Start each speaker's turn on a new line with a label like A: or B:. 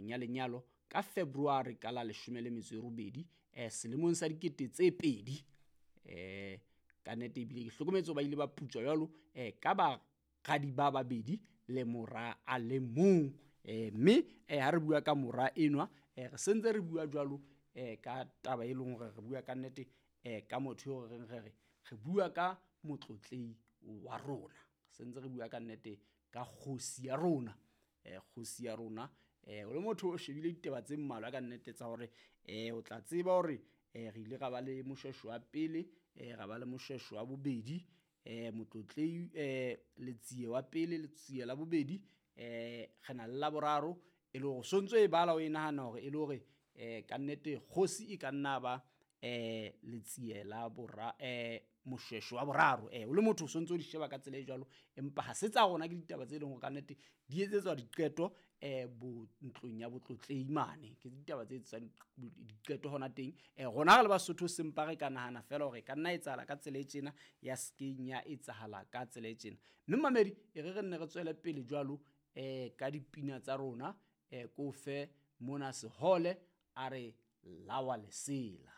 A: tabeng ya lenyalo ka February ka la 18 selemong sa 2000. Ka nnete ebile ke hlokometse ba ile ba putswa jwalo ka baradi ba babedi le mora a le mong. Mme ha re bua ka mora enwa, re sentse re bua jwalo ka taba e leng hore re bua ka nnete ka motho eo re reng re re bua ka motlotlei wa rona. Sentse re bua ka nnete ka kgosi ya rona. Kgosi ya rona, o le motho o shebile ditaba tse mmalwa ka nnete tsa hore o tla tseba hore re ile ra ba le Moshweshwe wa pele, ra ba le Moshweshwe wa bobedi, motlotlei Letsie wa pele, Letsie la bobedi, re na le la boraro, e le hore so ntso e bala o e nahana hore e le hore ka nnete kgosi e ka nna ba Letsie la bora Moshweshwe wa boraro. O le motho o sontso o di sheba ka tsela e jwalo, empa ha se tsa rona, ke ditaba tse leng hore ka nnete di etsetswa diqeto bo ntlong ya botlotlei mane. Ke ditaba tse etsetswang diqeto hona teng. Rona re le Basotho sempa re ka nahana fela hore ka nna etsahala ka tsela e tjena, ya skeng ya etsahala ka tsela e tjena. Mme mamedi e re re nne re tswele pele jwalo ka dipina tsa rona, ko fe mona Sehole a re lawa lesela.